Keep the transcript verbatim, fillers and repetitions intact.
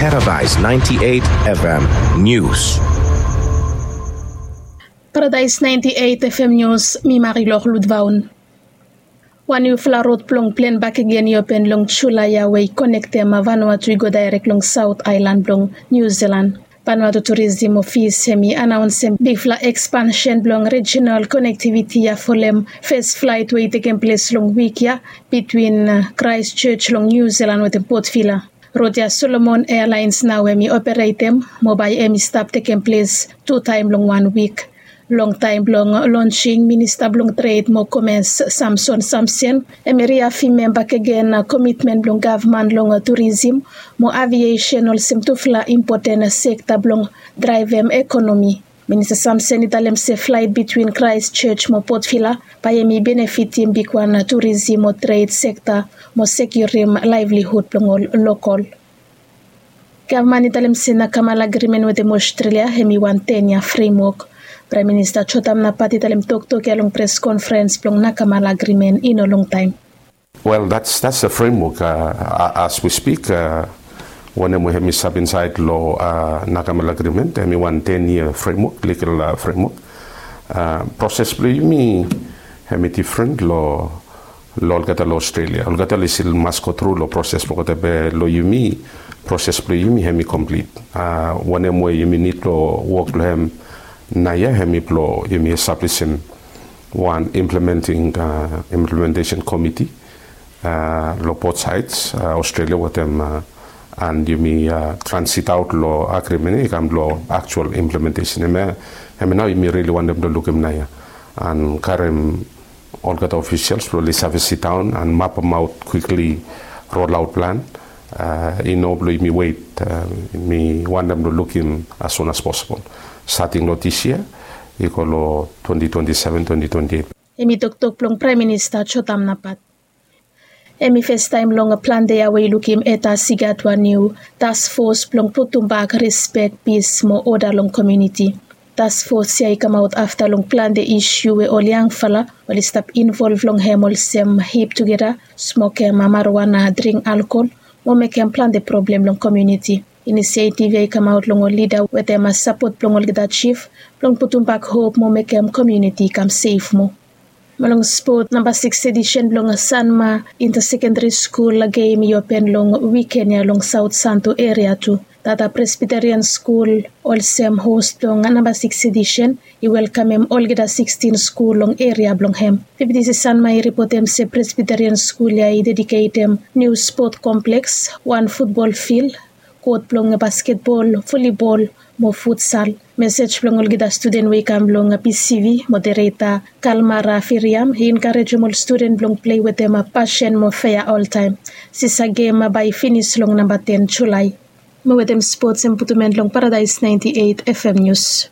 Paradise ninety-eight F M News. Paradise ninety-eight F M News, mi Marilor Ludvaun. Wan niufala rod blong plen bakegen i open long Julae ya we i konektem Vanuatu i go daerek long Saot Aelan blong Niu Silan. Vanuatu Turism Ofis hem i anaonsem bigfala ekspansen blong rijinal konektiviti ya folem fes flaet we i tekem ples long wik ya bitwin Kraestjoj long Niu Silan wetem Port Vila. Rod ya Solomon Airlines nao hem i operetem mo bae hem i stap tekem ples tu taem long wan wik. Long taem blong lonsing, Minista blong Tred mo Komes Samson Samson hem i riafemem bakegen komitmen blong gavman long turism mo aviesen olsem tufala impoten sekta blong draevem ekonomi. Minista Samson i talem se flaet bitwin Kraestjoj mo Port Vila bae hem i benefitim bigwan turism mo tred sekta mo sekiurim laevlihud blong ol lokol. Gavman i talem se Nakamal Agrimen wetem Ostrelia hem i wan ten yia fremwok. Praem Minista Jotam Napat i talem toktok ya long pres konferens blong Nakamal Agrimen i no longtaem. Wel, that's that's a framework as we speak. Wanem we hem i stap insaed long Nakamal Agrimen, hem i wan ten yia framework, ligal framework. Proses blong yumi hem i difren long long olgeta long Australia. Olgeta oli stil mas go tru long proses blong olgeta, be long yumi, proses blong yumi hem i komplit. Wanem we yumi nid long wok long hem naoia hem i blong yumi establisim wan implementing implementation komiti long both sides, Australia wetem and yumi transit aot long agrimen ya i kam long aktual implementation. Hemia nao yumi rili wantem long lukim naoia and karem olgeta ofisels blong oli save sidaon and mapemaot kwikli rolaot plan. I no blong yumi wet. Mi wantem long lukim as soon as possible, stating long this year i go long twenty twenty-seven, twenty twenty-eight. Hem i toktok blong Praem Minista Jotam Napat. Hem i festaem long plante ya we i lukim eta sigat wan niu tasfos blong putumbak rispek, pis mo oda long komuniti. Tasfos ya i kamaot afta long plante isu we ol yangfala oli stap involv long hem, olsem hip tugeta, smokem marijuana, dring alkol mo mekem plante problem long komuniti. Inisietiv ya i kamaot long ol lida wetem sapot blong olgeta jif blong putumbak hop mo mekem komuniti i kam sef moa. Mo long spot, namba sikis edisen blong Sanma Inta Sekendari Skul gem i open long wiken ya long Saot Santo eria tu. Tata Presbiterian Skul olsem hos blong namba sikis edisen i welkamem olgeta sikstin skul long eria blong hem. Fifti Sanma i ripotem se Presbiterian Skul ya i dediketem niu spot kompleks, wan futbol fil, kot blong basketbol, volibol mo futsal. Mesej blong olgeta studen we i kam long P C V, modereta Kalmara Firiam, i enkarejem ol studen blong plei wetem pasen mo fea oltaem. Sisa gem bae i finis long namba ten Julae. Mo wetem spots hem putum en long Paradise ninety-eight F M News.